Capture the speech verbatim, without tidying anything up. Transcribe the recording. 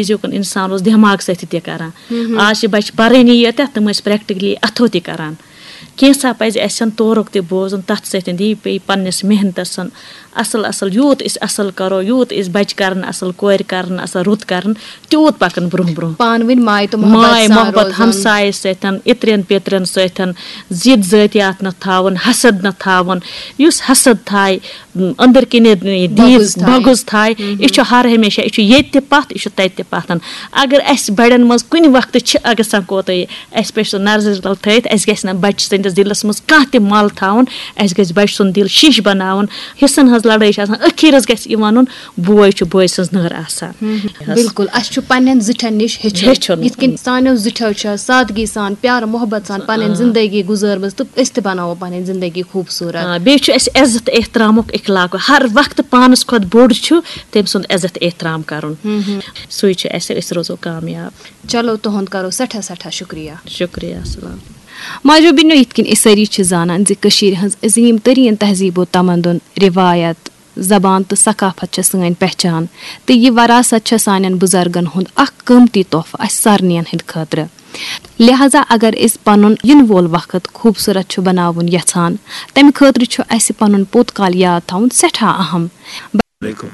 أزیُک اِنسان اوس دٮ۪ماغ سۭتۍ تہِ کَران۔ آز چھِ بَچہِ پَرٲنی یٲتۍ، تِم ٲسۍ پرٛیکٹِکلی اَتھو تہِ کَران۔ کینٛژھا پَزِ اَسہِ تورُک تہِ بوزُن، تَتھ سۭتۍ دی پیٚیہِ پنٛنِس محنتَس سُن اَصٕل اَصٕل، یوٗت أسۍ اَصٕل کَرو، یوٗت أسۍ بَچہِ کَرَن اَصٕل، کورِ کَرَن اَصٕل، رُت کَرَن، تیوٗت پَکَن برٛونٛہہ برٛونٛہہ۔ پانہٕ ؤنۍ ماے تہٕ محبت ماے سان محبت روزُن۔ ہمسایہِ سۭتۍ، اِترٮ۪ن پیٚترٮ۪ن سۭتۍ، ضِد ذٲتیات نہٕ تھاوُن، حسد نہٕ تھاوُن۔ یُس حسد تھایہِ، أنٛدٕر کِنۍ یہِ دیٖد بغض تھایہِ۔ بغض تھایہِ، یہِ چھُ ہر ہمیشہ، یہِ چھُ ییٚتہِ تہِ پَتھ، یہِ چھُ تَتہِ تہِ پَتھ۔ اگر اَسہِ بَڑٮ۪ن منٛز کُنہِ وقتہٕ چھِ گژھان کوتٲہی، اَسہِ پَزِ سُہ نظرِ تل تھٲیِتھ، اَسہِ گژھِ نہٕ بَچہِ سٕنٛدِس دِلَس منٛز کانٛہہ تہِ مَل تھاوُن، اَسہِ گژھِ بَچہِ سُنٛد دِل شیٖشہٕ بَناوُن۔ حِصَن ہٕنٛز لَڑٲے چھِ آسان، ٲخیٖرَس گژھِ یہِ وَنُن، بوے چھُ بوے سٕنٛز نٔر آسان۔ بِلکُل، اَسہِ چھُ پنٛنٮ۪ن زِٹھٮ۪ن نِش ہیٚچھُن۔ ہیٚچھُن۔ یِتھ کٔنۍ سانیو زِٹھیو چھےٚ سادگی سان، پیارٕ محبت سان پنٕنۍ آ۔ زندگی گُزٲرمٕژ، تہٕ أسۍ تہِ بناوو پنٕنۍ زندگی خوٗبصوٗرت۔ آ، بیٚیہِ چھُ اَسہِ عزت احترامُک اخلاق۔ ہر وقتہٕ پانَس کھۄتہٕ بوٚڑ چھُ، تٔمۍ سُنٛد عزت احترام کَرُن۔ سُے چھُ اَسہِ، أسۍ روزو کامیاب۔ چلو، تُہُنٛد کَرو سٮ۪ٹھاہ سٮ۪ٹھاہ شُکریہ۔ شُکریہ، السلام۔ ماجو بیٚنیو، یِتھ کٔنۍ أسۍ سٲری چھِ زانان زِ کٔشیٖرِ ہٕنٛز عظیٖم تریٖن تہذیٖب و تمدُن، رِوایت، زبان تہٕ ثقافت چھےٚ سٲنۍ پہچان، تہٕ یہِ وراثت چھےٚ سانٮ۪ن بُزرگن ہُنٛد اکھ قۭمتی تحفہٕ اَسہِ سارنٕیَن ہٕنٛدِ خٲطرٕ۔ لہذا اگر أسۍ پنُن یِنہٕ وول وقت خوٗبصوٗرت چھُ بناوُن یژھان، تَمہِ خٲطرٕ چھُ اَسہِ پنُن پوٚت کال یاد تھاوُن سٮ۪ٹھاہ اہم۔ علیکم۔